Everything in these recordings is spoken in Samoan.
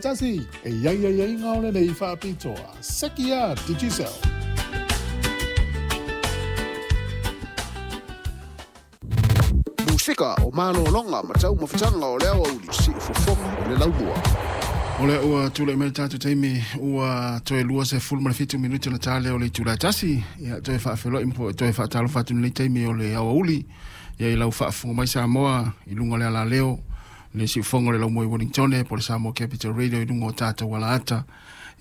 tasi, e i ai aiaiga o lenei faapitoa. Seki a Digicel. Musika o malologa ma taumafataga o le aoauli, siufofoga o le laumua. O lea ua tulai mai le tatou taimi ua toe 27 minute ona ta lea o le itula e 1. Ia toe faafeiloai ma toe faatalofa atu i lenei taimi o le aoauli. Ia i lau faafofoga mai Samoa i luga o le alaleo, le siufofoga o le laumua i Wellington po o le Samoa Capital Radio i luga o tatou alaata.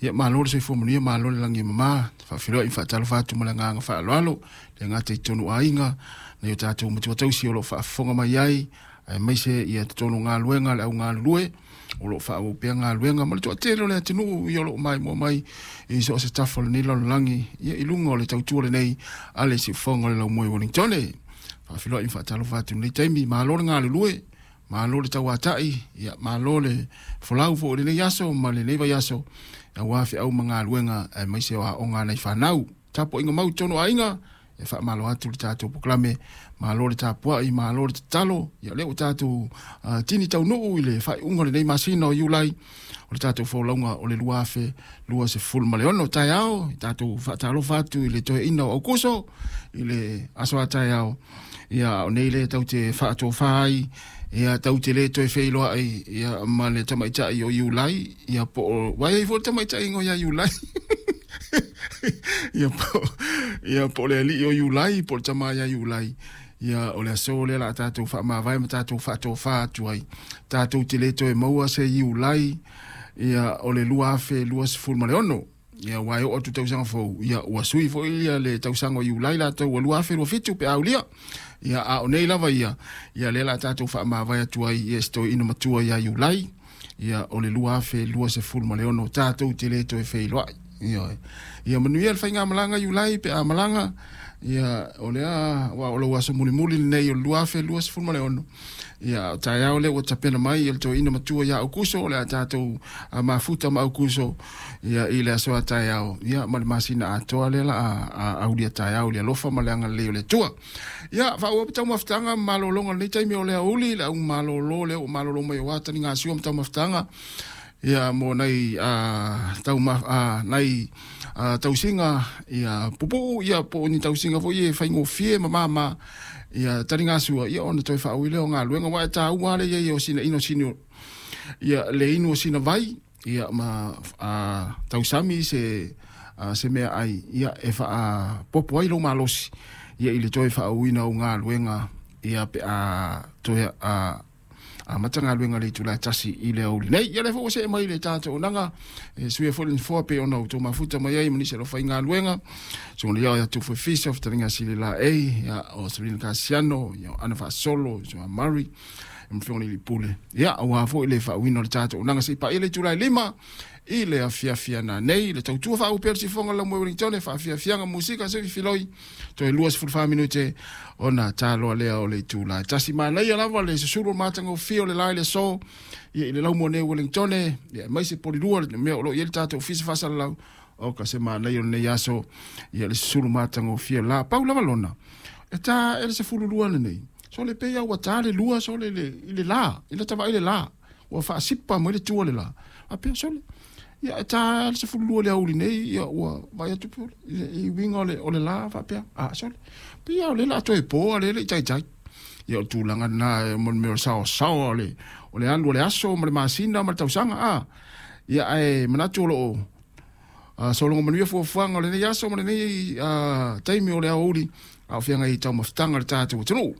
Ia malo le soifua manuia, malo le lagi e mama. Faafeiloai ma faatalofa atu ma le agaga faaaloalo, le gata i totonu aiga, nai o tatou matua tausi o lo o faafofoga mai ai, aemaise ia totonu o galuega, le au galulue, o lo o faaauau pea galuega ma le toatele o le atunuu ia o lo o maimoa mai i so o se tafa o lenei lalolagi, ia i luga o le tautua lenei a le siufofoga o le laumua i Wellington. Faafeiloai ma faatalofa atu i lenei taimi, malo le galulue, malo le tauatai, ia malo le folau foi o lenei aso ma lenei vaiaso, aua feau ma galuega aemaise o aoga a nai fanau. Tapuaiga mau i totonu o aiga, e faamalo atu le tatou polokalame, malo le tapuai, malo le tatalo. Ia lea ua tatou tini taunuu i le faaiuga o lenei masina o Iulai o le tatou folauga o le 2026 taeao. Tatou faatalofa atu i le toeaina o Aukuso i le aso a taeao. Ia o nei le tau te faatofa ai, ia tau te le toe feiloai ia ma le tamaitai o Iulai, ia po o vai ai foi le tamaitai ingoa ia Iulai. Ia po, ia po o le alii o Iulai, po o le tama ia Iulai. Ia o le aso lea la a tatou faamavae ma tatou faatofa atu ai. Tatou te le toe maua se Iulai, ia o le 2026. Ia aua e oo atu tausaga fou, ia ua sui foi ia le tausaga o Iulai latou ua 2027 pe aulia. Ia a o nei lava ia, ia lea la a tatou faamavae atu ai ia se toeaina matua ia Iulai, ia o le 2026 tatou te le toe feiloai. Ia, ia manuia le faigamalaga Iulai pe a malaga, ia o lea aua o lou aso mulimuli lenei o le 2026. Ia o taeao lea ua tapena mai ia le toeaina matua ia Aukuso, o le a tatou mafuta ma Aukuso ia i le aso a taeao, ia ma le masina atoa lea la a aulia taeao i le alofa ma le agalelei o le Atua. Ia faaauau pea taumafataga ma malologa o lenei taimi o le aoauli, le au malolo lea ua malolo mai aua taligasua ma taumafataga ia mo nai nai tausiga ia pupuu ia po o ni tausiga foi e faigofie ma mama ia taligasua ia ona toe faaui lea o galuega aua e taua lava le i ai o sina ino sini ia le inu o sina vai ia ma tausami se se meaai ia e faapopo ai lou malosi ia i le toe faaauina o galuega ia pe a toe amata galuega le itula e 1 i le aoauli nei. Ia lea foi ua see mai le tatou auaunaga e suia foi le nofoa pei ona outou mafuta mai ai ma nisi o le aufaigaluega. Susuga ia ia Tufu Efisa, Fetalaiga Sili Laei, ia o Selina Kasiano, ia o Ana Faasolo, Susuga Murray, ma Afioga i le Pule. Ia aua foi le faauuina o le tatou auaunaga se i paia le itula e 5 i le afiafi ana nei, le tautua faauu pea le sifoga lau moe Wellington, faafiafiaga musika se filoi toe 24 minute ona taloa lea o le itula e 1. Manaia lava le susulu o le matagofie o le la i le aso ia i le laumua nei o Wellington, ia aemaise Polilua le mea o lo o i ai le tatou ofisa faasalalau. O ka se manaia o lenei aso ia le susulu matagofie o le la. Pau lava lona e ta e le 12 lenei so le pei lava ua ta le lua so le i le la i lata vaai le la ua faasipa mai le tua le la faapea sole ia e ta le 12 i le aoauli nei ia ua vaai atu pe i uiga o le la faapea a sole pei lava o lea o le a toe po a o lea e le i taitai. Ia o le tulaga lena e mo le mea o le saoasaoa o le o le alu o le aso ma le masina ma le tausaga a ia ae manatu o lo o sologa manuia fuafuaga o lenei aso ma lenei taimi o le aoauli a o feagai i taumafataga a le tatou atunuu.